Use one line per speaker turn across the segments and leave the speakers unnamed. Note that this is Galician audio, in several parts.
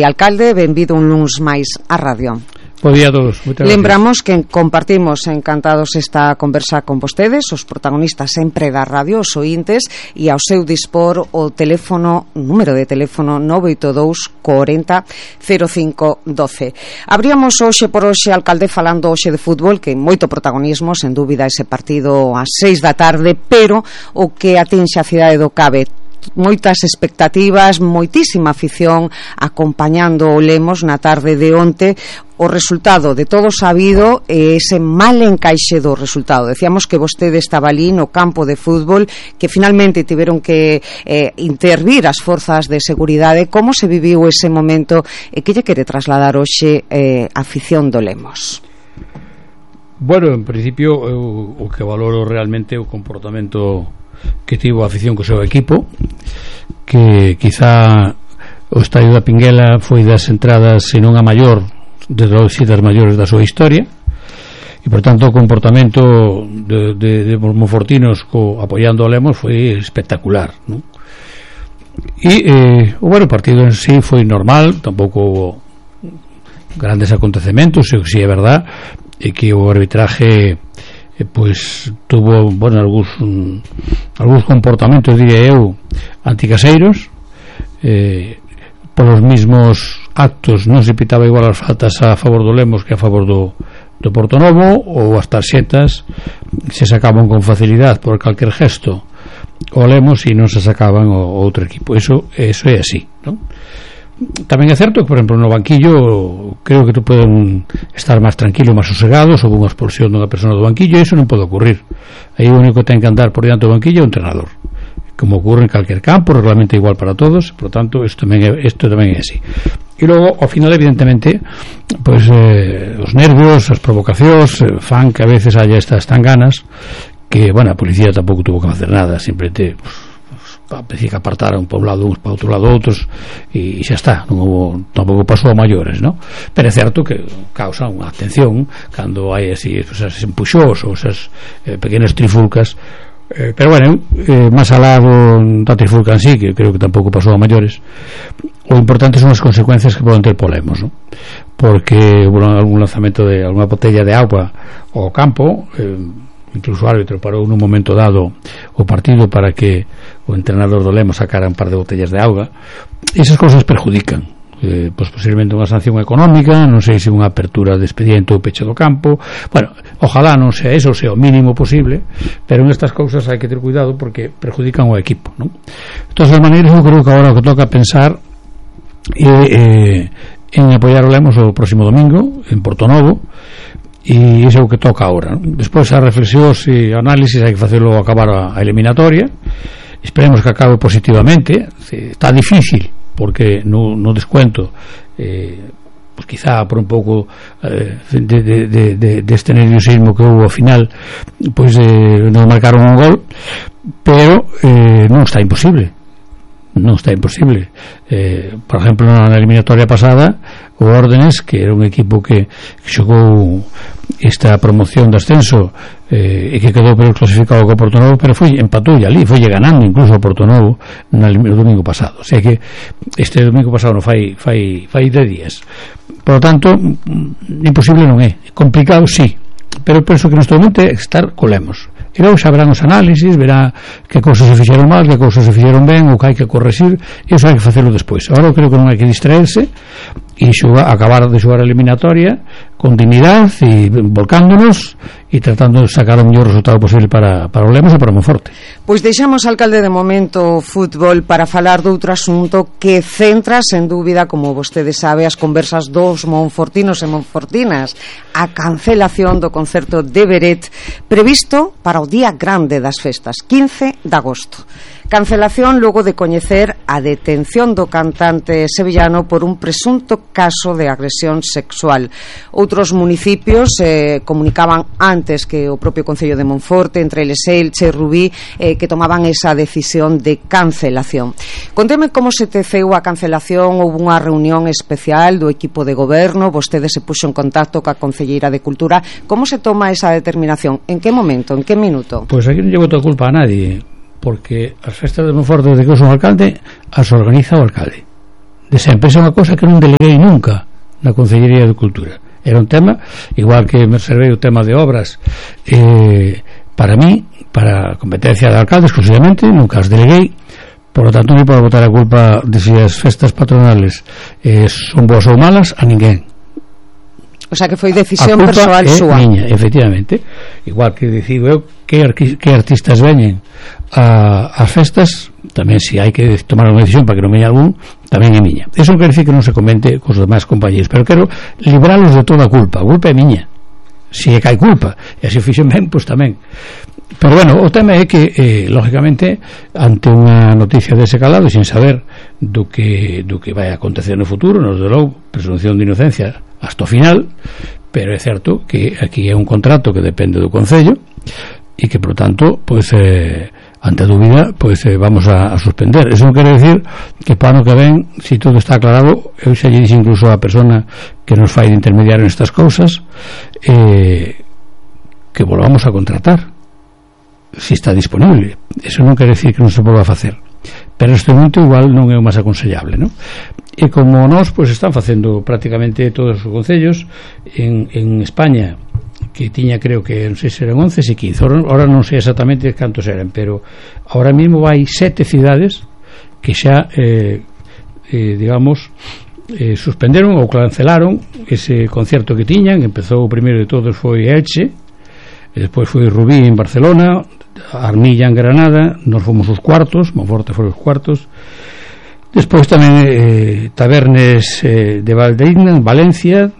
Alcalde, benvido un luns máis á radio.
Bo día a todos.
Lembramos que compartimos encantados esta conversa con vostedes, os protagonistas sempre da radio, os ointes, e ao seu dispor o número de teléfono 982 40 05 12. Abríamos hoxe por hoxe, alcalde, falando hoxe de fútbol, que moito protagonismo, sen dúbida, ese partido ás 6 da tarde, pero o que atinxe a cidade do Cabe, moitas expectativas, moitísima afición acompañando o Lemos na tarde de onte. O resultado de todo sabido é ese mal encaixe do resultado. Decíamos que vostede estaba ali no campo de fútbol, que finalmente tiveron que intervir as forzas de seguridade. Como se viviu ese momento e que lle quere trasladar hoxe a afición do Lemos?
Bueno, en principio o que valoro realmente o comportamento que tivo a afición co seu equipo, que quizá o estadio da Pinguela foi das entradas, se non a maior, de das maiores da súa historia, e por tanto o comportamento de monfortinos apoiando o Lemos foi espectacular, non? E o partido en sí foi normal, tampouco houve grandes acontecementos. O que si é verdad é que o arbitraje pois tuvo, bueno, algúns comportamentos, diría eu, anticaseiros. Polos mismos actos non se pitaba igual as faltas a favor do Lemos que a favor do Portonovo, ou as tarxetas se sacaban con facilidade por calquer gesto o Lemos e non se sacaban o outro equipo. Eso é así, non? Tamén é certo que, por exemplo, no banquillo creo que poden estar máis tranquilos, máis sosegados, houve unha expulsión dunha persona do banquillo, e iso non pode ocurrir. Aí o único que ten que andar por diante do banquillo é o entrenador, como ocurre en calquer campo, reglamento igual para todos. Por tanto, isto tamén é así. E logo, ao final, evidentemente, pois os nervios, as provocacións fan que a veces haya estas tanganas que, bueno, a policía tampouco tuvo que facer nada, simplemente que apartaron para un lado uns, para outro lado outros, e xa está. Tampouco pasou a maiores, non? Pero é certo que causa unha atención cando hai así esas empuxós ou esas pequenas trifulcas. Pero bueno, máis alá da trifulca en sí, que creo que tampouco pasou a maiores, o importante son as consecuencias que poden ter Lemos, non? Porque hubo algún lanzamento de alguna botella de agua ao campo, incluso o árbitro parou nun momento dado o partido para que o entrenador do Lemos sacara un par de botellas de auga. Esas cousas perjudican, pois posiblemente unha sanción económica, non sei se unha apertura de expediente ou peche do campo. Bueno, ojalá non sea eso, sea o mínimo posible, pero en estas cousas hai que ter cuidado porque perjudican o equipo, non? De todas as maneiras, eu creo que agora o que toca pensar en apoiar o Lemos o próximo domingo en Portonovo, e iso é o que toca agora, non? Despois as reflexións e análisis hai que facelo acabar a eliminatoria. Esperemos que acabe positivamente. Está difícil porque no descuento pues quizá por un pouco deste nerviosismo que houve ao final, pois nos marcaron un gol, pero non está imposible. Por exemplo, na eliminatoria pasada, o Órdenes, que era un equipo que xogou esta promoción de ascenso e que quedou clasificado co Portonovo, pero empatou ali, foi ganando incluso o Portonovo no domingo pasado. O sea que este domingo pasado non fai 10 días. Por lo tanto, imposible non é. Complicado, sí, pero penso que neste momento é estar co Lemos. E logo xa verán os análisis, verá que cousas se fixeron mal, que cousas se fixeron ben, o que hai que corregir, e iso hai que facelo despois. Agora eu creo que non hai que distraerse e acabar de xogar a eliminatoria con dignidade e volcándonos e tratando de sacar o mellor resultado posible para o Lemos e para o Monforte.
Pois deixamos, alcalde, de momento o fútbol para falar de outro asunto que centra, sen dúbida, como vostede sabe, as conversas dos monfortinos e monfortinas: a cancelación do concerto de Beret previsto para o día grande das festas, 15 de agosto. Cancelación logo de coñecer a detención do cantante sevillano por un presunto caso de agresión sexual. Outros municipios comunicaban antes que o propio Concello de Monforte, entre eles Elche e Rubí, que tomaban esa decisión de cancelación. Conteme como se teceu a cancelación. Houve unha reunión especial do equipo de goberno, vostede se puxo en contacto coa Concelleira de Cultura. Como se toma esa determinación? En que momento? En que minuto?
Pois aquí non lle boto a culpa a nadie, porque as festas de Monforte, desde que eu son alcalde, as organiza o alcalde. desa empresa, unha cosa que non deleguei nunca na Consellería de Cultura. Era un tema, igual que me reservei o tema de obras, para mí, para a competencia de alcaldes, exclusivamente, nunca as deleguei. Por lo tanto, non podo botar a culpa de se as festas patronales son boas ou malas a ninguén.
O sea, que foi decisión persoal súa.
Miña, efectivamente. Igual que decido eu que artistas veñen ás festas, tamén se hai que tomar unha decisión para que non veña algún, tamén é miña. Eso non quer decir que non se comente cos demais compañeros, pero quero libralos de toda a culpa. A culpa é miña. Se é que hai culpa, e se o fixen ben, pois tamén. Pero bueno, o tema é que lógicamente, ante unha noticia dese calado, sin saber do que vai acontecer no futuro, nos de logo presunción de inocencia hasta o final, pero é certo que aquí é un contrato que depende do Concello e que, por tanto, pois ante a dúbida, pois vamos a suspender. Eso non quere decir que para ano que ven, se todo está aclarado, eu xa lle dixo incluso a persona que nos fai de intermediario nestas cousas, que volvamos a contratar se está disponible. Eso non quere decir que non se volva a facer, pero neste momento igual non é o máis aconsellable, non? E como nós, pois están facendo prácticamente todos os concellos en España, que tiña, creo que non sei se eran 11 e 15, ahora non sei exactamente cantos eran, pero ahora mesmo hai 7 cidades que xa digamos suspenderon ou cancelaron ese concerto que tiñan. Empezou o primeiro de todos foi Elche, e despois foi Rubí en Barcelona, Armilla en Granada, nos fomos os cuartos, Monforte foi os cuartos. Despois tamén Tabernes de Valdeína en Valencia,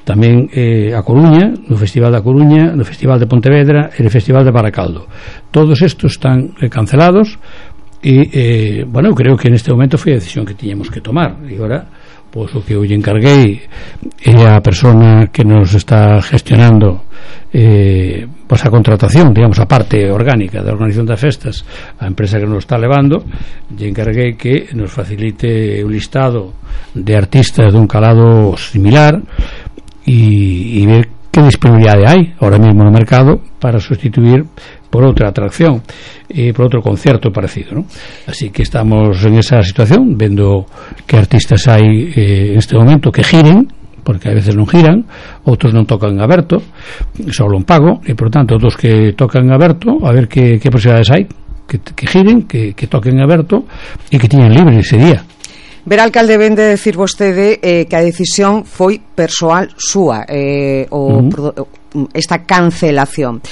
tamén a Coruña, no Festival da Coruña, no Festival de Pontevedra e no Festival de Baracaldo. Todos estos están cancelados e, bueno, creo que neste momento foi a decisión que tiñamos que tomar. E agora, pois o que eu lle encarguei é a persona que nos está gestionando pois a contratación, digamos, a parte orgánica da organización das festas, a empresa que nos está levando, lle encarguei que nos facilite un listado de artistas dun calado similar e ver que disponibilidade hai ahora mesmo no mercado para sustituir por outra atracción e por outro concerto parecido, ¿no? Así que estamos en esa situación, vendo que artistas hai neste momento que giren, porque a veces non giran, outros non tocan aberto, só un pago, e por tanto outros que tocan aberto, a ver que posibilidades hai, que giren, que toquen aberto e que tiñen libre ese día.
Ver, alcalde, ven de decir vostede que a decisión foi persoal súa, esta cancelación,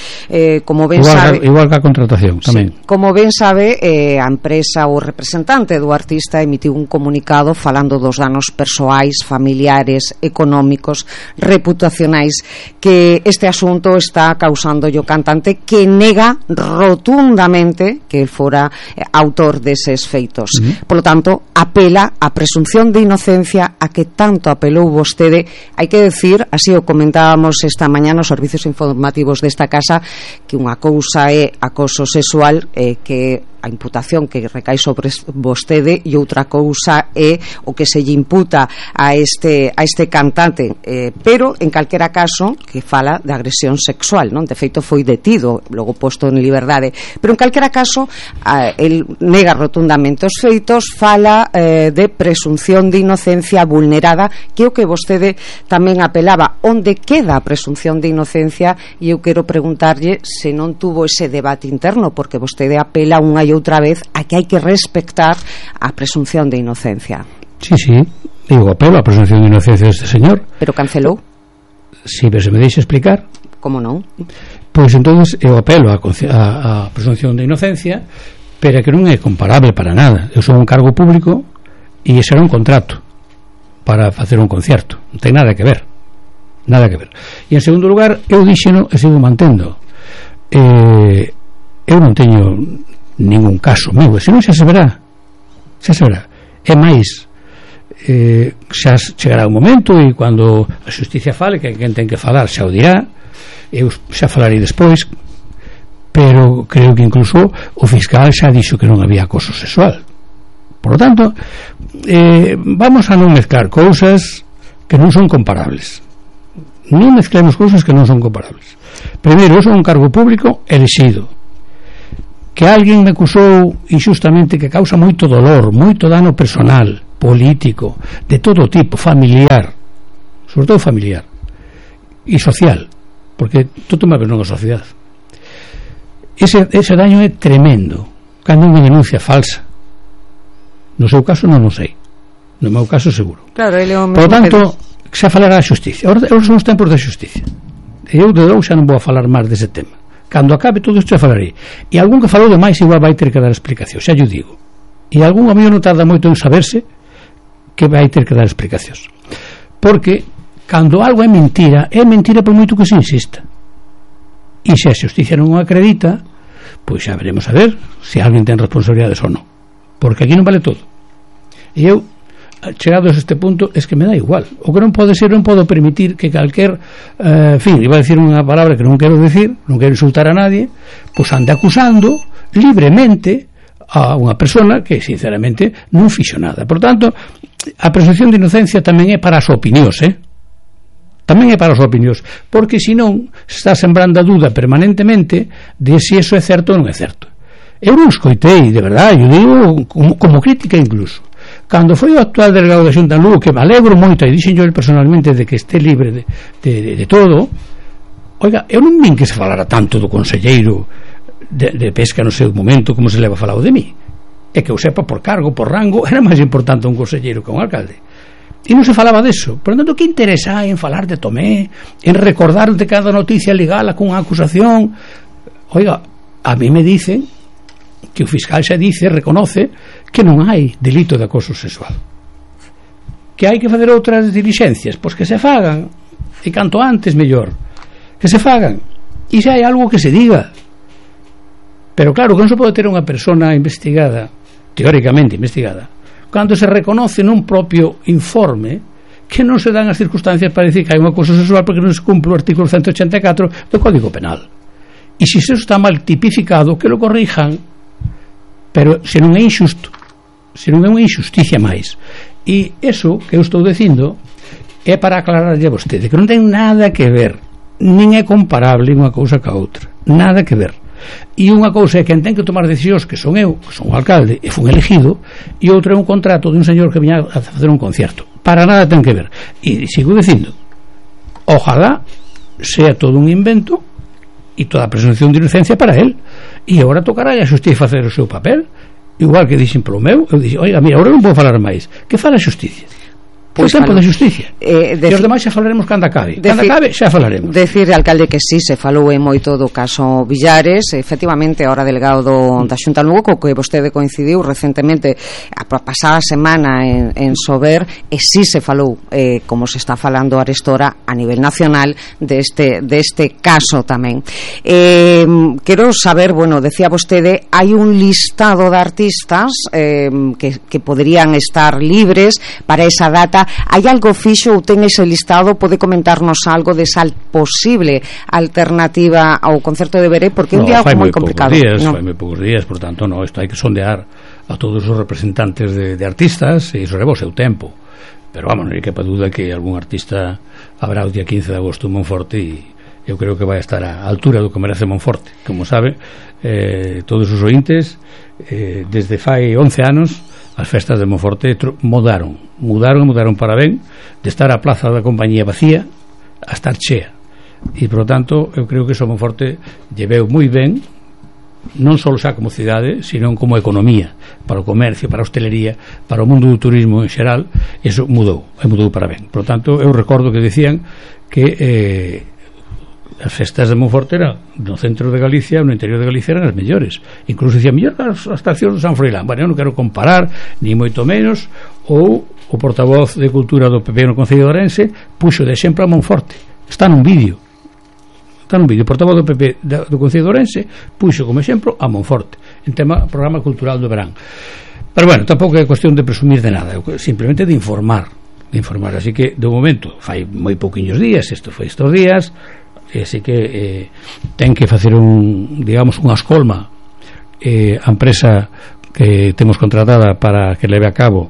como ben sabe,
igual que a contratación tamén.
Sí, como ben sabe, a empresa ou representante do artista emitiu un comunicado falando dos danos persoais, familiares, económicos, reputacionais que este asunto está causando o cantante, que nega rotundamente que fora autor deses feitos. Por lo tanto, apela a presunción de inocencia a que tanto apelou vostede. Hai que decir, así o comentábamos esta mañá nos servicios informativos desta casa, que unha cousa é acoso sexual, que a imputación que recae sobre vostede, e outra cousa é o que se lle imputa a este cantante, pero en calquera caso que fala de agresión sexual, non? De feito foi detido, logo posto en liberdade, pero en calquera caso el nega rotundamente os feitos, fala de presunción de inocencia vulnerada, que é o que vostede tamén apelaba. Onde queda a presunción de inocencia? E eu quero preguntarlle se non tuvo ese debate interno, porque vostede apela unha e outra vez a que hai que respectar a presunción de inocencia.
Sí, digo, apelo a presunción de inocencia deste señor.
Pero cancelou?
Sí, pero se me deixa explicar.
Como non?
Pois entonces eu apelo a presunción de inocencia, pero que non é comparable para nada. Eu son un cargo público e ese era un contrato para facer un concerto, non ten nada que ver. E en segundo lugar, eu dixeno e sigo mantendo, eu non teño ningún caso meu, e senón xa se verá. É máis, xa chegará un momento, e cando a xusticia fale, que quen ten que falar xa o dirá, eu xa falarei despois, pero creo que incluso o fiscal xa dixo que non había acoso sexual. Por lo tanto, vamos a non mezclar cousas que non son comparables. Non mezclemos cousas que non son comparables. Primeiro, eu son un cargo público elexido, que alguén me acusou injustamente, que causa moito dolor, moito dano personal, político, de todo tipo, familiar, sobre todo familiar e social, porque todo má vez non a sociedade. Ese daño é tremendo cando unha denuncia falsa. No seu caso non o sei, no meu caso seguro.
Claro,
por tanto, xa falará a xusticia. Ahora son os tempos da xusticia. Eu de dou xa non vou a falar máis dese tema. Cando acabe todo isto xa falarei. E algún que falou de máis igual vai ter que dar explicación, xa yo digo. E algún amigo non tarda moito en saberse que vai ter que dar explicacións. Porque cando algo é mentira por moito que se insista. E se a xusticia non o acredita, pois xa veremos a ver se alguén ten responsabilidades ou non. Porque aquí non vale todo. E eu, chegados a este punto, es que me dá igual. O que non pode ser, non podo permitir que calquer en fin, iba a decir unha palabra que non quero decir, non quero insultar a nadie, pois ande acusando libremente a unha persona que sinceramente non fixo nada. Por tanto, a presunción de inocencia tamén é para as opinións, tamén é para as opinións, porque senón está sembrando a duda permanentemente de se iso é certo ou non é certo. Eu non escoitei, de verdade, eu digo como crítica incluso, cando foi o actual delegado da Xunta en Lugo, que me alegro moito, e dixen yo personalmente de que este libre de todo. Oiga, eu non vin que se falara tanto do conselleiro de pesca no seu momento como se leva falado de mí. É que eu sepa, por cargo, por rango, era máis importante un conselleiro que un alcalde. E non se falaba deso. Por tanto, que interesa en falar de Tomé, en recordar de cada noticia legal con unha acusación? Oiga, a mí me dicen que o fiscal xa dice, reconoce que non hai delito de acoso sexual, que hai que fazer outras dilixencias, pois que se fagan, e canto antes mellor, que se fagan, e xa hai algo que se diga. Pero claro, que non se pode ter unha persona investigada, teóricamente investigada, cando se reconoce nun propio informe que non se dan as circunstancias para decir que hai un acoso sexual porque non se cumple o artículo 184 do Código Penal. E se iso está mal tipificado, que lo corrijan, pero se non é injusto, se non é unha injusticia máis. E iso que eu estou dicindo é para aclararlle a vostede que non ten nada que ver, nin é comparable unha cousa ca outra, nada que ver. E unha cousa é quen ten que tomar decisións, que son eu, que son o alcalde e fun elegido, e outra é un contrato de un señor que viña a facer un concierto. Para nada ten que ver. E sigo dicindo, ojalá sea todo un invento e toda a presunción de inocencia para él, e agora tocará a xusticia facer o seu papel, igual que dixen polo meu. Eu dixen, oiga, mira, agora non vou falar máis, que fala a xusticia. Pois tempo da xusticia. E os demais xa falaremos cando acabe. Cando acabe xa falaremos.
Decir, alcalde, que sí, se falou moito do caso Villares. Efectivamente, ahora delegado da Xunta Lugo, co que vostede coincidiu recentemente a pasada semana en Sober, e sí se falou, como se está falando arestora a nivel nacional, deste caso tamén. Quero saber, bueno, decía vostede, hai un listado de artistas que poderían estar libres para esa data. Hai algo fixo ou ten ese listado? Pode comentarnos algo desa posible alternativa ao concerto de Veré, porque é un día moi complicado.
Fai moi poucos días, por tanto, isto hai que sondear a todos os representantes de artistas, e iso leva o seu tempo. Pero vamos, non hai que pa duda que algún artista habrá o día 15 de agosto en Monforte, e eu creo que vai estar á altura do que merece Monforte. Como sabe, todos os ointes, desde fai 11 anos as festas de Monforte mudaron para ben, de estar a plaza da compañía vacía a estar chea, e por tanto eu creo que iso Monforte lleveu moi ben, non só xa como cidade, sino como economía, para o comercio, para a hostelería, para o mundo do turismo en xeral. Iso mudou para ben. Por tanto, eu recordo que decían que as festas de Monforte no centro de Galicia, no interior de Galicia, eran as mellores. Incluso dicían, mellor as estacións de San Froilán. Bueno, eu non quero comparar, ni moito menos. Ou o portavoz de Cultura do PP no Concello de Ourense puxo de exemplo a Monforte. Está nun vídeo. O portavoz do PP do Concello de Ourense puxo como exemplo a Monforte en programa cultural do verán. Pero bueno, tampouco é cuestión de presumir de nada, simplemente de informar. Así que, de momento, fai moi pouquiños días, isto foi estes días, así que ten que facer unha escolma a empresa que temos contratada para que leve a cabo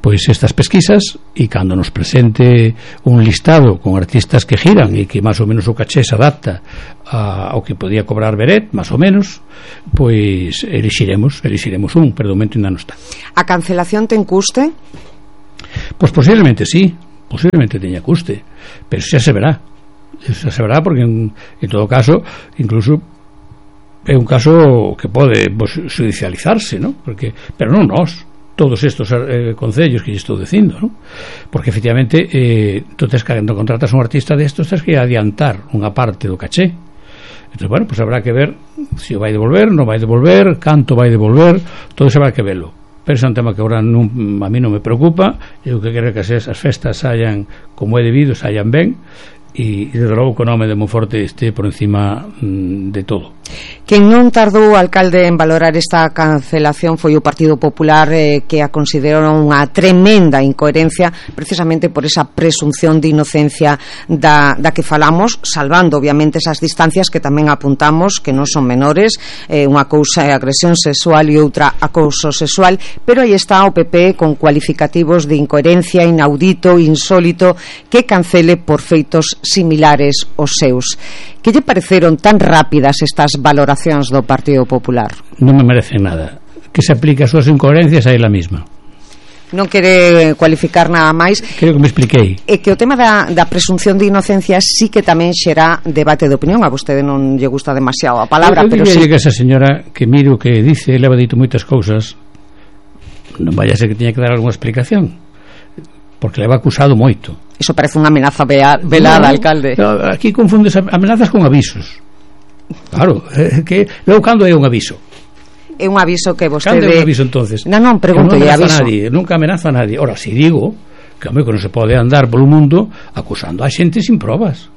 pois estas pesquisas, e cando nos presente un listado con artistas que giran e que máis ou menos o caché se adapta ao que podía cobrar Beret, máis ou menos, pois elixiremos un, pero de momento ainda non está.
A cancelación ten custe?
Pois posiblemente sí, posiblemente teña custe, pero xa se verá porque en todo caso incluso é un caso que pode judicializarse, ¿no? Pero non nós, todos estos concellos que lle estou dicindo, ¿no? Porque efectivamente tú cando contratas un artista destos tens que adiantar unha parte do caché. Entón, bueno, pues habrá que ver se o vai devolver, non vai devolver, canto vai devolver, todo iso habrá que verlo. Pero é un tema que agora a mí non me preocupa. Eu que quero que as festas saian como é debido, saian ben, e desde logo que o nome de Monforte este por encima de todo.
Quen non tardou, alcalde, en valorar esta cancelación foi o Partido Popular, que a considerou unha tremenda incoherencia precisamente por esa presunción de inocencia da que falamos, salvando obviamente esas distancias que tamén apuntamos que non son menores. Unha cousa é agresión sexual e outra acoso sexual, pero aí está o PP con cualificativos de incoherencia, inaudito, insólito, que cancele por feitos similares aos seus. Que lle pareceron tan rápidas estas valoracións do Partido Popular?
Non me merecen nada. Que se aplique as súas incoherencias a ela mesma.
Non quere cualificar nada máis.
Creo que me expliquei.
E que o tema da presunción de inocencia sí que tamén xera debate de opinión. A vostede non lle gusta demasiado a palabra, pero sí.
Que esa señora que miro que dice, leva dito moitas cousas, non vaya a ser que tiña que dar algunha explicación, porque leva acusado moito.
Iso parece unha amenaza velada, alcalde.
Aquí confundes amenazas con avisos. Claro, que logo cando é un aviso?
É un aviso que vostede...
Cando é un aviso entonces?
Non, pregunto, é aviso.
Nunca amenaza a nadie. Ora, si digo que non se pode andar polo mundo acusando a xente sin probas.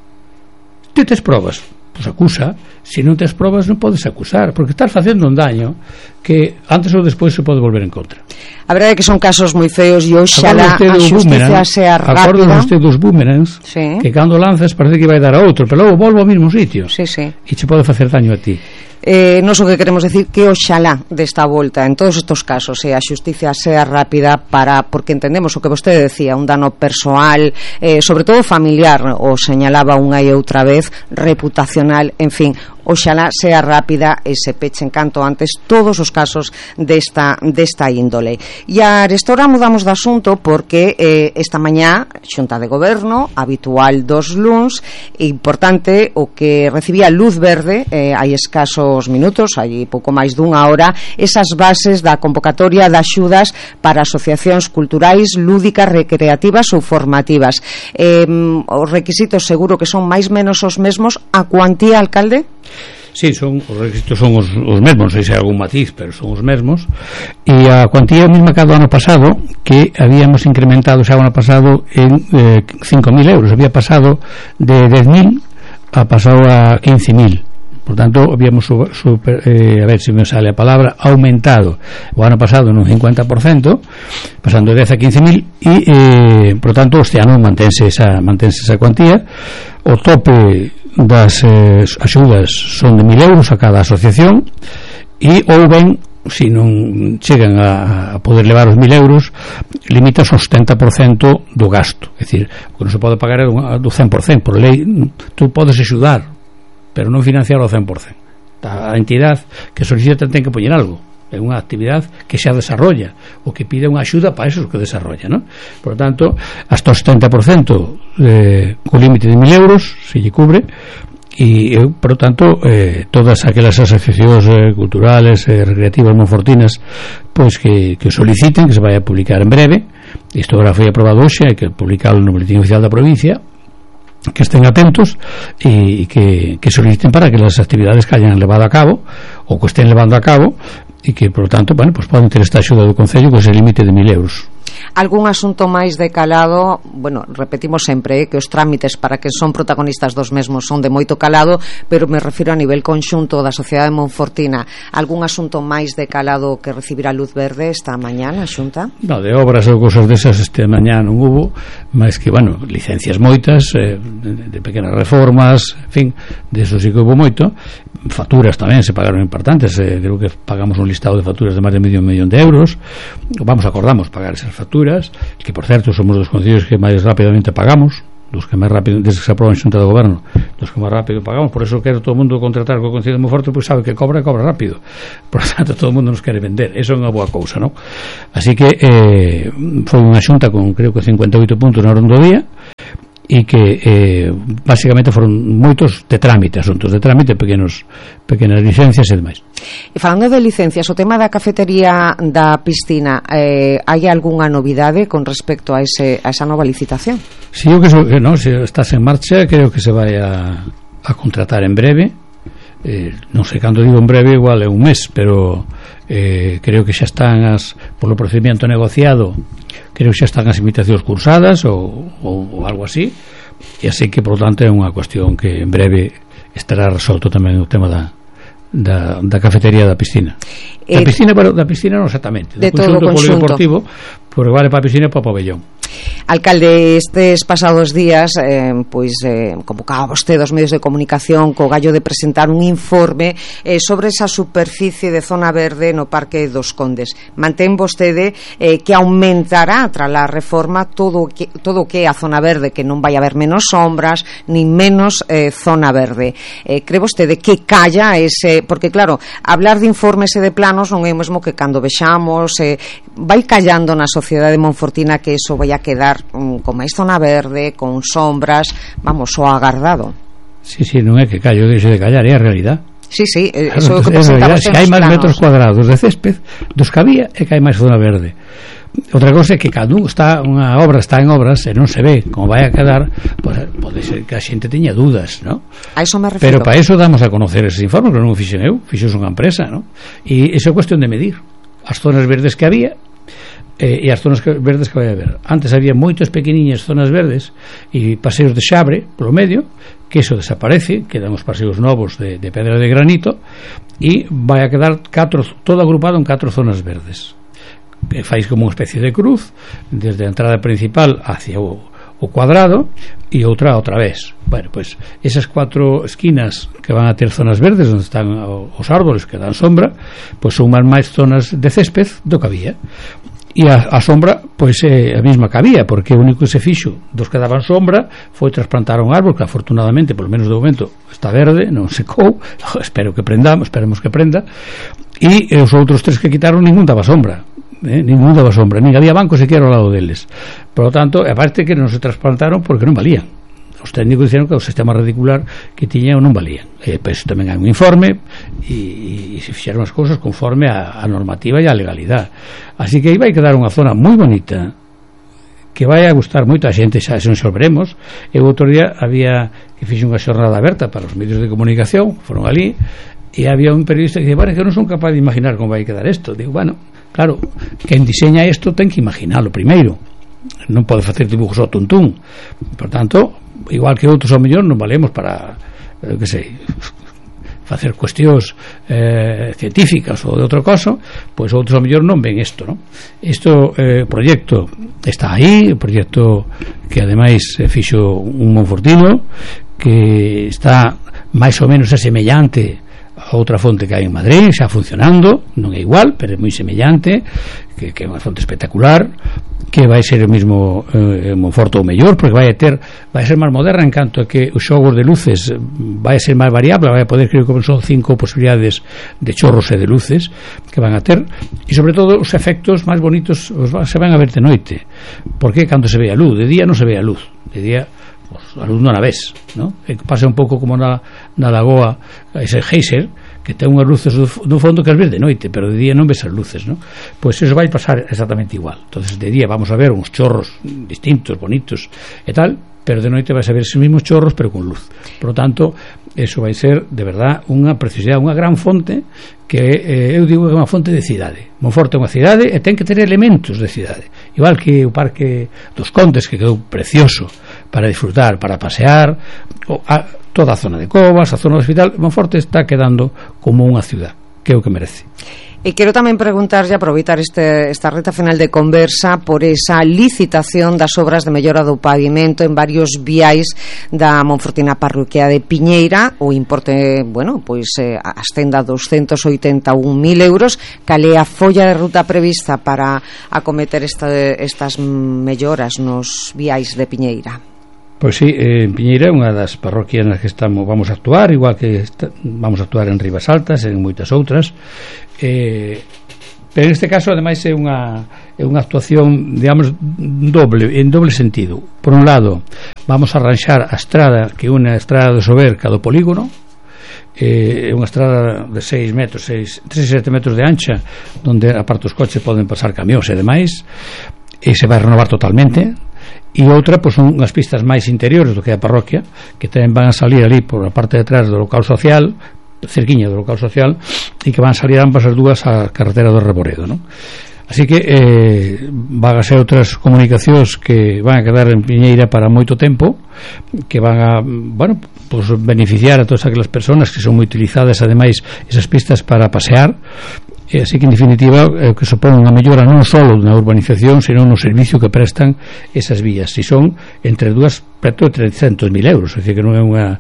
Ti tes probas, pois acusa. Se non tes probas non podes acusar, porque estás facendo un daño que antes ou despois se pode volver en contra.
A verdade é que son casos moi feos e oxalá a xusticia sea rápida.
Acordo usted dos boomerangs, sí, que cando lanzas parece que vai dar a outro, pero logo volvo ao mesmo sitio.
Sí, sí.
E che pode facer daño a ti.
Nos o que queremos decir que oxalá desta volta en todos estos casos a xusticia sea rápida, porque entendemos o que vostede decía, un dano persoal, sobre todo familiar, o señalaba unha e outra vez, reputacional, en fin, oxalá sea rápida e se pechen canto antes todos os casos desta índole. E arestora mudamos de asunto porque esta mañá Xunta de Goberno, habitual dos luns, importante, o que recibía luz verde hai escasos minutos, hai pouco máis dunha hora, esas bases da convocatoria de axudas para asociacións culturais, lúdicas, recreativas ou formativas. Os requisitos seguro que son máis menos os mesmos. A cuantía, alcalde?
Sí, os requisitos son os mesmos, non sei se hai algún matiz, pero son os mesmos, e a cuantía mesma que do ano pasado, que habíamos incrementado xa o ano pasado en 5.000 euros, había pasado de 10.000 a pasado a 15.000. Por tanto, habíamos a ver se me sale a palabra, aumentado o ano pasado nun 50%, pasando de 10 a 15.000 e, por tanto, este ano mantense esa cuantía. O tope das axudas son de 1.000 euros a cada asociación e ou ben, se non chegan a poder levar os 1.000 euros, limitas o 70% do gasto. É dicir, o que non se pode pagar é do 100%. Por lei, tú podes axudar, pero non financiar ao 100%. A entidade que solicita ten que poñer algo. É unha actividade que xa desarrolla, o que pide unha axuda para eso que desarrolla, ¿no? Por tanto, hasta o 70% co límite de 1.000 euros se lle cubre, e, por tanto, todas aquelas asociacións culturales, recreativas, monfortinas, pois que soliciten, que se vai a publicar en breve. Isto agora foi aprobado hoxe, hai que publicarlo no boletín oficial da provincia, que estén atentos e que soliciten para que as actividades que hayan levado a cabo ou que estén levando a cabo e que, por tanto, bueno, pues poden ter esta axuda do Concello con ese límite de 1.000 euros.
Algún asunto máis de calado? Bueno, repetimos sempre que os trámites para que son protagonistas dos mesmos son de moito calado, pero me refiro a nivel conxunto da sociedade monfortina. Algún asunto máis de calado que recibirá luz verde esta mañá na Xunta?
No, de obras ou cosas desas este mañá non hubo, máis que, bueno, licencias moitas, de pequenas reformas, en fin, de eso sí que hubo moito. Facturas tamén se pagaron importantes, creo que pagamos un listado de facturas de máis de medio millón de euros. Acordamos pagar esas facturas facturas, que por certo somos dos concellos que máis rapidamente pagamos, dos que máis rápido, desde que se aproba en Xunta de Goberno, dos que máis rápido pagamos. Por eso quero todo o mundo contratar co Concello de Monforte, pois sabe que cobra rápido, por tanto todo o mundo nos quere vender, eso é unha boa cousa, non? Así que foi unha xunta con creo que 58 puntos na ronda do día, e que basicamente foron moitos de trámite, asuntos de trámite, pequenas licencias e demais.
E falando de licencias, o tema da cafetería da piscina, hai algunha novidade con respecto a esa nova licitación?
Si, eu que non, se estás en marcha, creo que se vai a contratar en breve, non sei cando digo en breve, igual é un mes, pero creo que xa están polo procedimento negociado, creo que xa están as invitacións cursadas ou algo así, e así que por lo tanto é unha cuestión que en breve estará resolto tamén o tema da cafetería da piscina. Da piscina non exactamente,
de todo o conxunto
polideportivo, porque vale para a piscina e para o pabellón.
Alcalde, estes pasados días convocaba vostede aos medios de comunicación co gallo de presentar un informe sobre esa superficie de zona verde no Parque dos Condes. Mantén vostede que aumentará tras a reforma todo o que é a zona verde, que non vai haber menos sombras nin menos zona verde. Cree vostede que calla ese, porque claro, hablar de informes e de planos non é o mesmo que cando vexamos vai callando na sociedade monfortina que eso vai a quedar con máis zona verde, con sombras, vamos, o agardado.
Sí, non é que callo, deixe de callar, é a realidad.
Sí,
claro,
eso é o que presentamos.
Se hai máis metros cuadrados de césped dos que había, é que hai máis zona verde. Outra cosa é que cando unha obra está en obras e non se ve como vai a quedar, pode ser que a xente teña dudas, ¿no?
A eso me refiero.
Pero para eso damos a conocer eses informes, que non o fixen eu, fixos unha empresa, ¿no? E iso é cuestión de medir as zonas verdes que había e as zonas verdes que vai haber. Antes había moitas pequeniñas zonas verdes e paseos de xabre polo medio, que eso desaparece, quedan os paseos novos de pedra de granito, e vai a quedar todo agrupado en 4 zonas verdes, que fais como unha especie de cruz desde a entrada principal hacia o cuadrado e outra vez. Bueno, pues esas 4 esquinas que van a ter zonas verdes onde están os árboles que dan sombra, pues son máis zonas de césped do que había. E a sombra, pois é a mesma que había, porque o único que se fixo dos que daban sombra foi trasplantar un árbol que afortunadamente, polo menos de momento, está verde, non secou, esperemos que prenda, e os outros 3 que quitaron ningún daba sombra, nin había banco sequera ao lado deles. Por lo tanto, aparte que non se trasplantaron porque non valían. Os técnicos dixeron que o sistema radicular que tiña non valían. Pois tamén hai un informe e se fixeron as cousas conforme a normativa e a legalidade. Así que aí vai quedar unha zona moi bonita que vai a gustar moito a xente, xa se nos veremos. E o outro día había que fixe unha xornada aberta para os medios de comunicación, foron ali, e había un periodista que dice, bueno, que non son capaz de imaginar como vai quedar isto. Digo, bueno, claro, quen diseña isto ten que imaginalo primeiro, non pode facer dibujos ao tuntún. Por tanto, igual que outros ao mellor non valemos para que sei, facer cuestións científicas ou de outro caso, pois outros ao mellor non ven isto, non? Isto proxecto está aí, o proxecto que ademais fixo un monfortino que está máis ou menos semellante a outra fonte que hai en Madrid, xa funcionando, non é igual, pero é moi semellante, que é unha fonte espectacular, que vai ser o mesmo Monforte ou mellor, porque vai ser máis moderna en canto a que os xogos de luces vai ser máis variable, vai a poder, creo que son 5 posibilidades de chorros e de luces que van a ter, e sobre todo os efectos máis bonitos se van a ver de noite, porque cando se ve a luz, de día non se ve a luz, de día a luz non a ves, ¿no? Pasa un pouco como na lagoa ese geyser, que ten unhas luces no fondo que as ves de noite, pero de día non ves as luces, ¿no? Pois eso vai pasar exactamente igual. Entonces de día vamos a ver uns chorros distintos, bonitos e tal, pero de noite vais a ver esos mismos chorros pero con luz. Por lo tanto, eso vai ser de verdad unha preciosidade, unha gran fonte que eu digo que é unha fonte de cidade. Monforte é unha cidade e ten que ter elementos de cidade, igual que o Parque dos Condes, que quedou precioso para disfrutar, para pasear, toda a zona de Covas, a zona do hospital. Monforte está quedando como unha ciudad, que é o que merece.
E quero tamén preguntarlle, aproveitar esta reta final de conversa, por esa licitación das obras de mellora do pavimento en varios viais da Monfortina parroquia de Piñeira. O importe, bueno, pois ascende a 281.000 euros. Cal é a folla de ruta prevista para acometer estas melloras nos viais de Piñeira?
Pois sí, Piñeira é unha das parroquias nas que vamos a actuar, igual que vamos a actuar en Rivas Altas, en moitas outras, pero neste caso ademais é unha actuación, digamos, en doble sentido. Por un lado, vamos a arranxar a estrada que une a estrada de Sober ca do polígono, é unha estrada de 6 metros, 3 e 7 metros de ancha, onde aparte os coches poden pasar camións e demais, e se vai renovar totalmente. E outra, pois, son unhas pistas máis interiores do que a parroquia, que tamén van a salir ali por a parte de atrás do local social, cerquiña do local social, e que van a salir ambas as dúas á carretera do Reboredo, non? Así que van a ser outras comunicacións que van a quedar en Piñeira para moito tempo, que van a, bueno, pues beneficiar a todas aquelas persoas que son moi utilizadas, ademais, esas pistas para pasear. Así que, en definitiva, que supón unha mellora non só na urbanización, sino no servicio que prestan esas vías, e son entre dúas preto de 300.000 euros, é dicir, que non é unha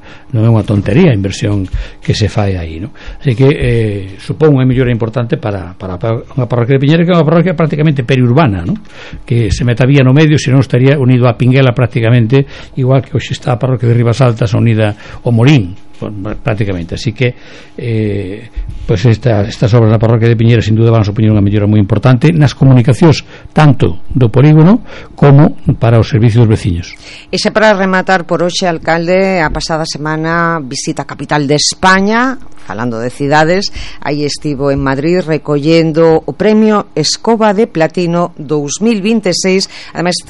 tontería a inversión que se fai aí, non? Así que supón unha mellora importante para unha parroquia de Piñeira, que é unha parroquia prácticamente periurbana, non? Que se meta vía no medio, senón estaría unido a Pinguela prácticamente, igual que hoxe está a parroquia de Rivas Altas unida ao Morín, prácticamente. Así que pues estas obras na parroquia de Piñeira sin duda van a supoñer unha mellora moi importante nas comunicacións tanto do polígono como para os servicios veciños.
E xa para rematar por hoxe, alcalde, a pasada semana visita a capital de España, falando de cidades, aí estivo en Madrid recollendo o premio Escoba de Platino 2026. Ademais,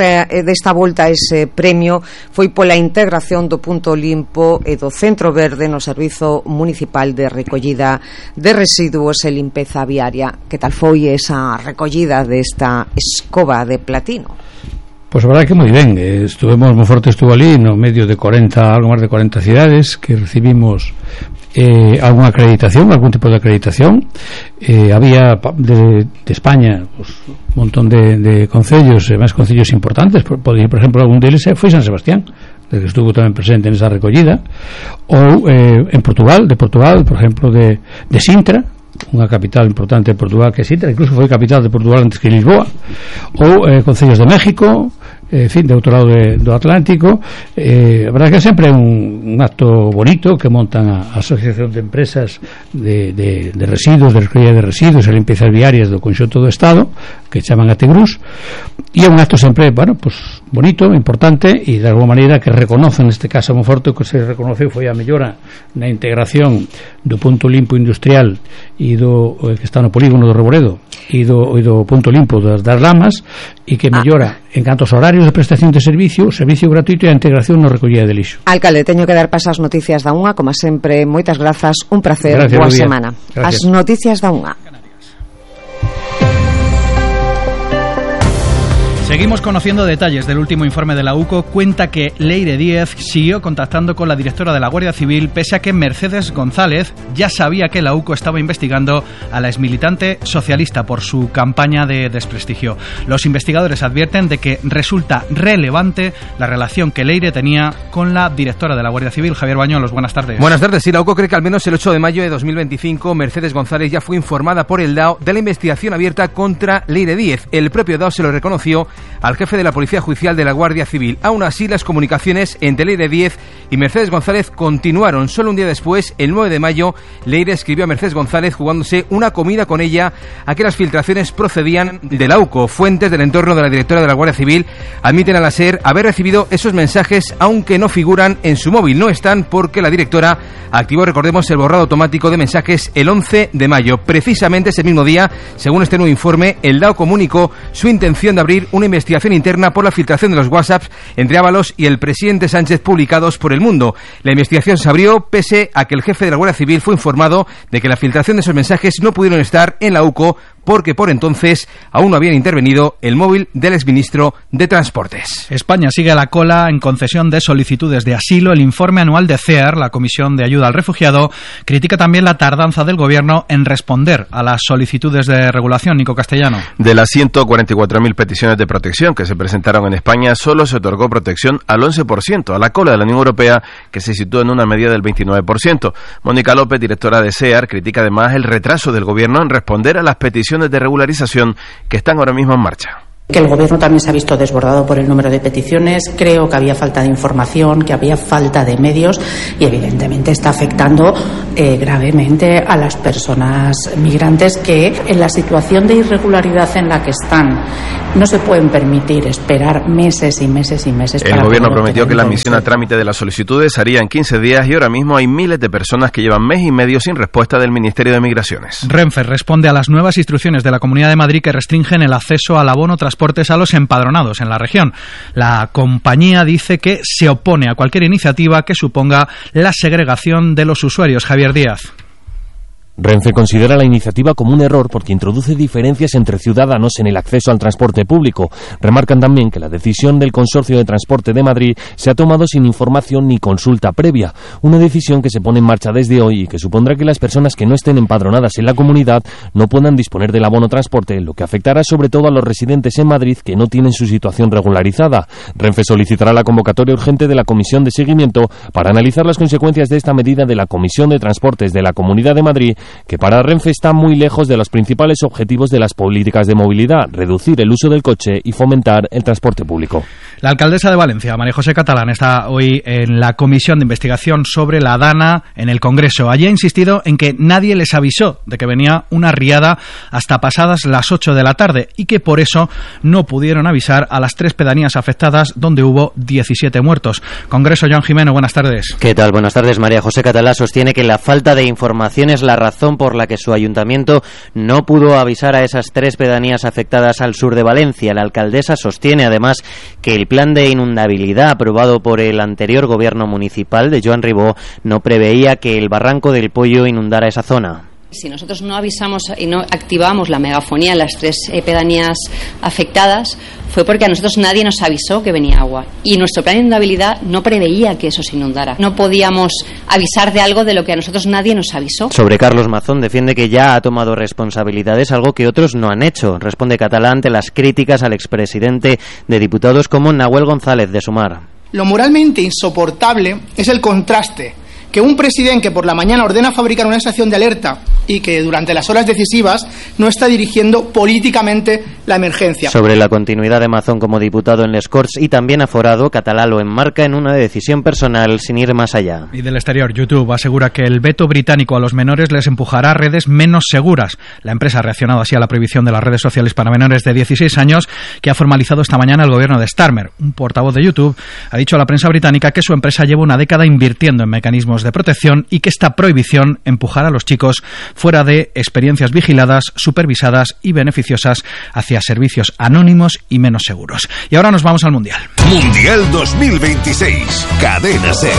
desta volta ese premio foi pola integración do punto limpo e do centro verde no Servizo Municipal de Recollida de Residuos e Limpeza Viaria. Que tal foi esa recollida desta Escoba de Platino?
Pois a verdade que moi ben, Monforte estuvo ali no medio de 40, algo máis de 40 cidades que recibimos algún tipo de acreditación. Había de España pues, un montón de concellos, máis concellos importantes, por exemplo, algún deles foi San Sebastián, que estuvo tamén presente nesa recollida, ou en Portugal, por exemplo, de Sintra, unha capital importante de Portugal que é Sintra, incluso foi capital de Portugal antes que Lisboa, ou concellos de México, en fin, de outro lado do Atlántico. A verdade que é sempre un acto bonito que montan a Asociación de Empresas de Residuos, de recollida de residuos e limpiezas viarias do conxunto do Estado, que chaman a Tegrús, e é un acto sempre, bueno, pues, bonito, importante, e de alguma maneira que reconocen, neste caso Monforte, o que se reconoceu foi a mellora na integración do punto limpo industrial e do que está no polígono do Reboredo e do punto limpo das Lamas, e que mellora en canto aos horarios de prestación de servicio gratuito e a integración no recollida de lixo.
Alcalde, teño que dar paso ás noticias da unha, como sempre, moitas grazas, un placer, boa semana. As noticias da unha.
Seguimos conociendo detalles del último informe de la UCO. Cuenta que Leire Díez siguió contactando con la directora de la Guardia Civil, pese a que Mercedes González ya sabía que la UCO estaba investigando a la exmilitante socialista por su campaña de desprestigio. Los investigadores advierten de que resulta relevante la relación que Leire tenía con la directora de la Guardia Civil. Javier Bañolos, buenas tardes.
Buenas tardes. Sí, la UCO cree que al menos el 8 de mayo de 2025 Mercedes González ya fue informada por el DAO de la investigación abierta contra Leire Díez. El propio DAO se lo reconoció al jefe de la Policía Judicial de la Guardia Civil. Aún así, las comunicaciones entre Leire Díez y Mercedes González continuaron. Solo un día después, el 9 de mayo, Leire escribió a Mercedes González jugándose una comida con ella a que las filtraciones procedían de la UCO. Fuentes del entorno de la directora de la Guardia Civil admiten a la SER haber recibido esos mensajes, aunque no figuran en su móvil. No están porque la directora activó, recordemos, el borrado automático de mensajes el 11 de mayo. Precisamente ese mismo día, según este nuevo informe, el DAO comunicó su intención de abrir una investigación interna por la filtración de los WhatsApps entre Ábalos y el presidente Sánchez publicados por El Mundo. La investigación se abrió pese a que el jefe de la Guardia Civil fue informado de que la filtración de esos mensajes no pudieron estar en la UCO porque por entonces aún no habían intervenido el móvil del exministro de Transportes.
España sigue a la cola en concesión de solicitudes de asilo. El informe anual de CEAR, la Comisión de Ayuda al Refugiado, critica también la tardanza del Gobierno en responder a las solicitudes de regulación. Nico Castellano.
De las 144.000 peticiones de protección que se presentaron en España, solo se otorgó protección al 11%, a la cola de la Unión Europea, que se sitúa en una media del 29%. Mónica López, directora de CEAR, critica además el retraso del Gobierno en responder a las peticiones de regularización que están ahora mismo en marcha.
Que el Gobierno también se ha visto desbordado por el número de peticiones. Creo que había falta de información, que había falta de medios y evidentemente está afectando gravemente a las personas migrantes que en la situación de irregularidad en la que están no se pueden permitir esperar meses y meses y meses.
El Gobierno prometió que la admisión a trámite de las solicitudes haría en 15 días y ahora mismo hay miles de personas que llevan mes y medio sin respuesta del Ministerio de Migraciones.
Renfe responde a las nuevas instrucciones de la Comunidad de Madrid que restringen el acceso al abono transportes a los empadronados en la región. La compañía dice que se opone a cualquier iniciativa que suponga la segregación de los usuarios. Javier Díaz.
Renfe considera la iniciativa como un error porque introduce diferencias entre ciudadanos en el acceso al transporte público. Remarcan también que la decisión del Consorcio de Transporte de Madrid se ha tomado sin información ni consulta previa, una decisión que se pone en marcha desde hoy y que supondrá que las personas que no estén empadronadas en la comunidad no puedan disponer del abono transporte, lo que afectará sobre todo a los residentes en Madrid que no tienen su situación regularizada. Renfe solicitará la convocatoria urgente de la Comisión de Seguimiento para analizar las consecuencias de esta medida de la Comisión de Transportes de la Comunidad de Madrid, que para Renfe está muy lejos de los principales objetivos de las políticas de movilidad, reducir el uso del coche y fomentar el transporte público.
La alcaldesa de Valencia, María José Catalán, está hoy en la Comisión de Investigación sobre la Dana en el Congreso. Allí ha insistido en que nadie les avisó de que venía una riada hasta pasadas las 8 de la tarde y que por eso no pudieron avisar a las 3 pedanías afectadas donde hubo 17 muertos. Congreso, Joan Jimeno, buenas tardes.
¿Qué tal? Buenas tardes. María José Catalán sostiene que la falta de información es la razón por la que su ayuntamiento no pudo avisar a esas 3 pedanías afectadas al sur de Valencia. La alcaldesa sostiene además que el plan de inundabilidad aprobado por el anterior gobierno municipal de Joan Ribó no preveía que el barranco del Pollo inundara esa zona.
Si nosotros no avisamos y no activamos la megafonía en las 3 pedanías afectadas, fue porque a nosotros nadie nos avisó que venía agua. Y nuestro plan de inundabilidad no preveía que eso se inundara. No podíamos avisar de algo de lo que a nosotros nadie nos avisó.
Sobre Carlos Mazón, defiende que ya ha tomado responsabilidades, algo que otros no han hecho. Responde Catalán ante las críticas al expresidente de diputados como Nahuel González de Sumar.
Lo moralmente insoportable es el contraste que un presidente que por la mañana ordena fabricar una estación de alerta y que durante las horas decisivas no está dirigiendo políticamente la emergencia.
Sobre la continuidad de Mazón como diputado en les Corts y también aforado, Catalá lo enmarca en una decisión personal sin ir más allá.
Y del exterior, YouTube asegura que el veto británico a los menores les empujará a redes menos seguras. La empresa ha reaccionado así a la prohibición de las redes sociales para menores de 16 años que ha formalizado esta mañana el gobierno de Starmer. Un portavoz de YouTube ha dicho a la prensa británica que su empresa lleva una década invirtiendo en mecanismos de protección y que esta prohibición empujará a los chicos fuera de experiencias vigiladas, supervisadas y beneficiosas hacia servicios anónimos y menos seguros. Y ahora nos vamos al Mundial.
Mundial 2026, Cadena SER.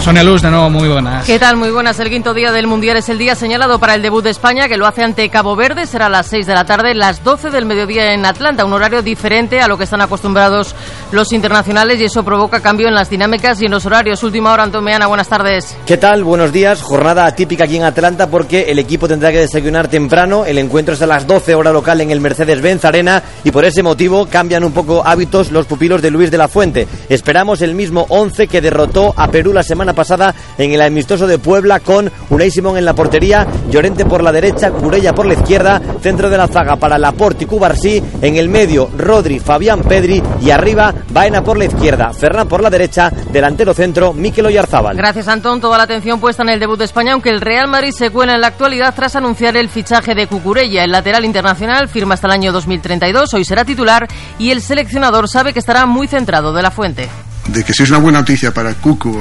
Sonia Luz, de nuevo, muy buenas.
¿Qué tal? Muy buenas. El 5º día del Mundial es el día señalado para el debut de España, que lo hace ante Cabo Verde. Será a las 6 de la tarde, las 12 del mediodía en Atlanta, un horario diferente a lo que están acostumbrados los internacionales y eso provoca cambio en las dinámicas y en los horarios. Última hora, Antón Meana, buenas tardes.
¿Qué tal? Buenos días. Jornada atípica aquí en Atlanta porque el equipo tendrá que desayunar temprano. El encuentro es a las 12 hora local en el Mercedes-Benz Arena y por ese motivo cambian un poco hábitos los pupilos de Luis de la Fuente. Esperamos el mismo 11 que derrotó a Perú la semana pasada en el amistoso de Puebla, con Unai Simón en la portería, Llorente por la derecha, Curella por la izquierda, centro de la zaga para Laporte y Cubarsí, en el medio Rodri, Fabián Pedri y arriba Baena por la izquierda, Ferran por la derecha, delantero centro Mikel Oyarzábal.
Gracias, Antón. Toda la atención puesta en el debut de España, aunque el Real Madrid se cuela en la actualidad tras anunciar el fichaje de Cucurella. El lateral internacional firma hasta el año 2032, hoy será titular y el seleccionador sabe que estará muy centrado. De la Fuente.
De que si es una buena noticia para Cucu,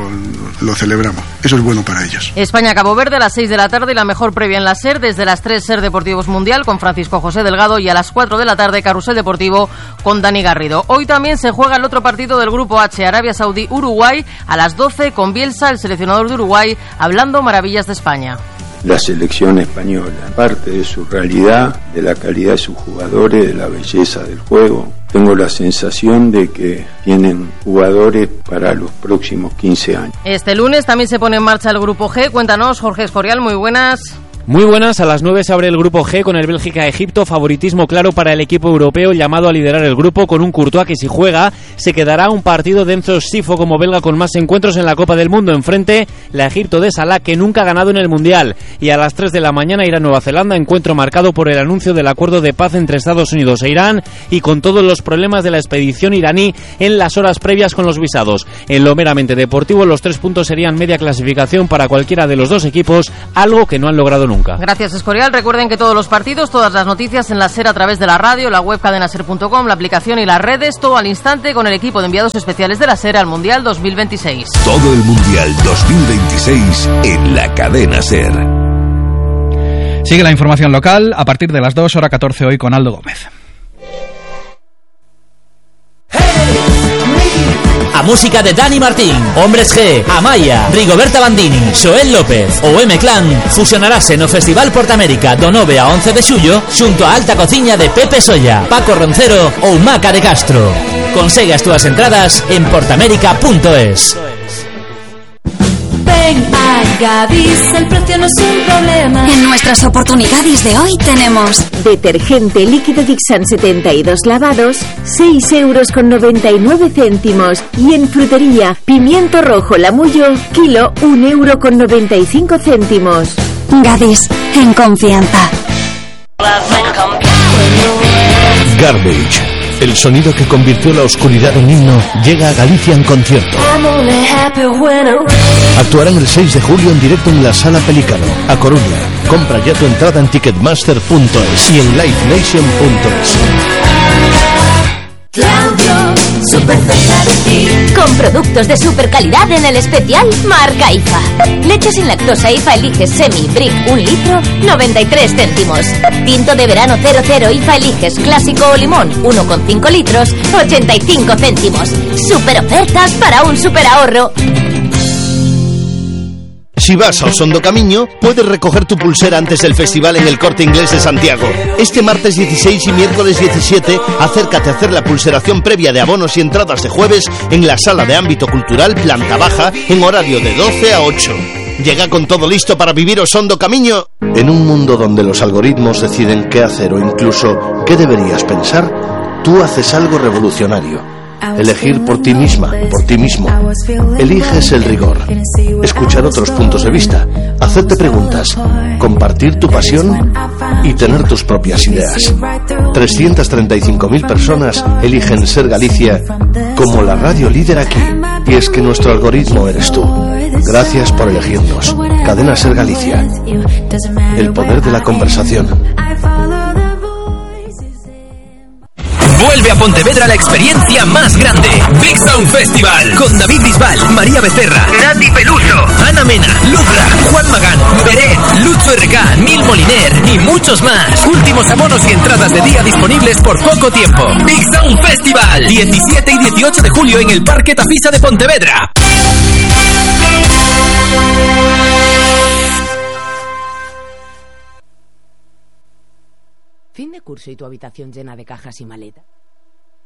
lo celebramos. Eso es bueno para ellos.
España-Cabo Verde a las 6 de la tarde y la mejor previa en la SER. Desde las 3, SER Deportivos Mundial con Francisco José Delgado y a las 4 de la tarde, Carrusel Deportivo con Dani Garrido. Hoy también se juega el otro partido del Grupo H, Arabia Saudí-Uruguay, a las 12 con Bielsa, el seleccionador de Uruguay, hablando maravillas de España.
la selección española. Parte de su realidad, de la calidad de sus jugadores, de la belleza del juego. Tengo la sensación de que tienen jugadores para los próximos 15 años.
Este lunes también se pone en marcha el Grupo G. Cuéntanos, Jorge Escorial, muy buenas.
Muy buenas, a las 9 se abre el Grupo G con el Bélgica-Egipto, favoritismo claro para el equipo europeo llamado a liderar el grupo con un Courtois que si juega se quedará un partido de Enzo Sifo como belga con más encuentros en la Copa del Mundo. Enfrente la Egipto de Salah que nunca ha ganado en el Mundial, y a las 3 de la mañana irá a Nueva Zelanda, encuentro marcado por el anuncio del acuerdo de paz entre Estados Unidos e Irán y con todos los problemas de la expedición iraní en las horas previas con los visados. En lo meramente deportivo, los 3 puntos serían media clasificación para cualquiera de los dos equipos, algo que no han logrado nunca.
Gracias, Escorial. Recuerden que todos los partidos, todas las noticias en la SER a través de la radio, la web cadenaser.com, la aplicación y las redes, todo al instante con el equipo de enviados especiales de la SER al Mundial 2026.
Todo el Mundial 2026 en la cadena SER.
Sigue la información local a partir de las 2, hora 14 hoy con Aldo Gómez.
A música de Dani Martín, Hombres G, Amaya, Rigoberta Bandini, Xoel López ou M-Clan fusionarase no Festival Portamérica do 9 a 11 de xullo xunto a Alta Cociña de Pepe Solla, Paco Roncero ou Maca de Castro. Consegue as túas entradas en portamérica.es.
Ven a Gadis, el precio no es un problema.
En nuestras oportunidades de hoy tenemos detergente líquido Dixan 72 lavados, 6,99 €. Y en frutería, pimiento rojo Lamullo, kilo, 1,95 €.
Gadis, en confianza.
Garbage, el sonido que convirtió la oscuridad en himno, llega a Galicia en concierto. Actuarán el 6 de julio en directo en la Sala Pelícano, a Coruña. Compra ya tu entrada en ticketmaster.es y en livenation.es.
Claudio, súper cerca de ti.
Con productos de super calidad en el especial Marca IFA. Leche sin lactosa IFA Eliges Semi Brick 1 litro, 93 céntimos. Tinto de verano 00 IFA Eliges Clásico o Limón 1,5 litros, 85 céntimos. Super ofertas para un super ahorro.
Si vas ao Son do Camiño, puedes recoger tu pulsera antes del festival en el Corte Inglés de Santiago. Este martes 16 y miércoles 17, acércate a hacer la pulseración previa de abonos y entradas de jueves en la Sala de Ámbito Cultural Planta Baja en horario de 12 a 8. Llega con todo listo para vivir o Son do Camiño. En un mundo donde los algoritmos deciden qué hacer o incluso qué deberías pensar, tú haces algo revolucionario. Elegir por ti misma, por ti mismo. Eliges el rigor, escuchar otros puntos de vista, hacerte preguntas, compartir tu pasión y tener tus propias ideas. 335.000 personas eligen Ser Galicia como la radio líder aquí. Y es que nuestro algoritmo eres tú. Gracias por elegirnos. Cadena Ser Galicia. El poder de la conversación.
Vuelve a Pontevedra la experiencia más grande. Big Sound Festival. Con David Bisbal, María Becerra, Nati Peluso, Ana Mena, Lucra, Juan Magán, Beret, Lucho RK, Nil Moliner y muchos más. Últimos abonos y entradas de día disponibles por poco tiempo. Big Sound Festival. 17 y 18 de julio en el Parque Tafisa de Pontevedra.
Fin de curso y tu habitación llena de cajas y maletas.